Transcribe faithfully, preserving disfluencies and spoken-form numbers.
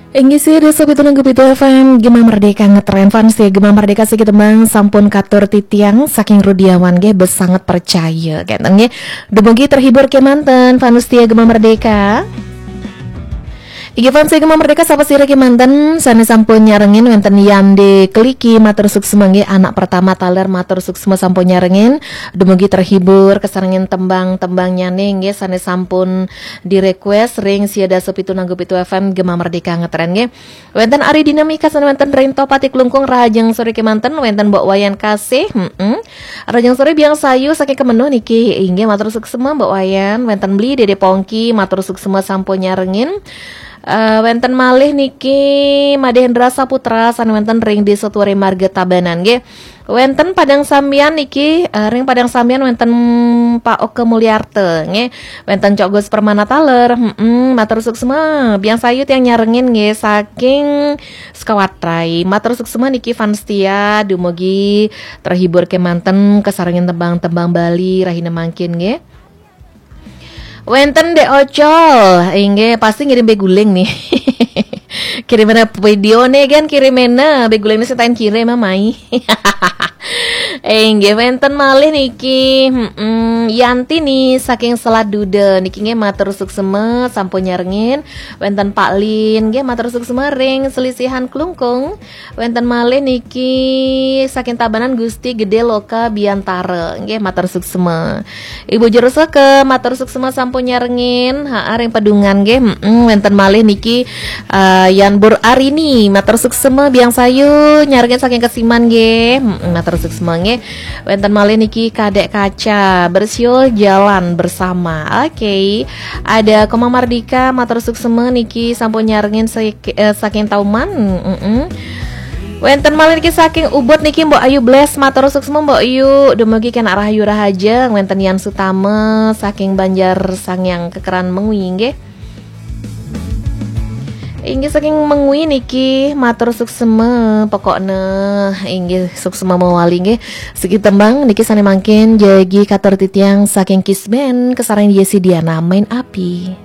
Inggih, sia dasa pitu nanggu pitu F M Gema Merdeka ngetren. Fans setia Gema Merdeka, siki tembang sampun katur titiang saking Rudiawan nggih, bes sanget percaya kenten nggih. Dumugi terhibur kemanten fans setia Gema Merdeka. Inggih, fans setia Gema Merdeka, sapa sira kemanten sane sampun nyarengin? Wenten Yande Keliki, matur suksma nggih, anak pertama taler, matur suksma sampun nyarengin. Dumugi terhibur kesarengin tembang-tembangnyane nggih, sane sampun di-request ring sia dasa pitu nanggu pitu F M Gema Merdeka ngetren nggih. Wenten Ari Dinamika sane wenten ring Tohpati Klungkung, rahajeng sore kemanten. Wenten Mbok Wayan Kasih, heeh. Rahajeng sore Biang Sayu saking Kemenuh niki, inggih, matur suksma Mbok Wayan. Wenten Bli Dede Pongki, matur suksma sampun nyarengin. Eh, wenten malih niki Madhe Hendra Saputra sane wenten ring Desa Tuwari Marga Tabanan nggih. Wenten Padang Sambian niki, eh, ring Padang Sambian wenten Pak Oke Mulyarta nggih. Wenten Cok Gus Permana taler, heeh, matur suksma. Biang Sayu tiang nyarengin nggih, saking Sukawatrai. Matur suksma niki fans setia, dumugi terhibur kemanten kesarengin tembang-tembang Bali rahina mangkin nggih. Wenten Dek Ocol, inggih, pasti ngirim beguling nih. Kirimena video nih kan, kirimena beguling nih, setain kirim, mai. Inggih, wenten malih niki, heeh, Yanti nih saking Selat Duda niki nggih, matur suksma sampun nyarengin. Wenten Pak Lin nggih, matur suksma ring Selisihan Klungkung. Wenten malih niki saking Tabanan, Gusti Gede Loka Biantara nggih, matur suksma. Ibu Juru Saka, matur suksma sampun nyarengin. Ha, ring Pedungan nggih. Heeh, wenten malih niki, eh, Yan Bur Arini, matur suksma. Biang Sayu nyarengin saking Kesiman nggih. Heeh, matur suksma nggih. Wenten malih niki Kadek Kaca, bersiul jalan bersama. Oke. Ada Komang Mardika, matur suksma niki sampun nyarengin sek-, eh, saking Tauman. Heeh. Wenten malih niki saking Ubud niki Mbok Ayu Bles, matur suksma Mbok Ayu. Dumugi kenak rahayu rahajeng. Wenten Yan Sutama saking Banjar Sangyang Kekeran Mengwi nggih. Inggih, saking Mengwi niki, matur suksma pokokne. Inggih, suksma mawali nggih. Siki tembang niki sane mangkin jagi katur titiang saking Kisben, kesarengin Yesi Diana, Main Api.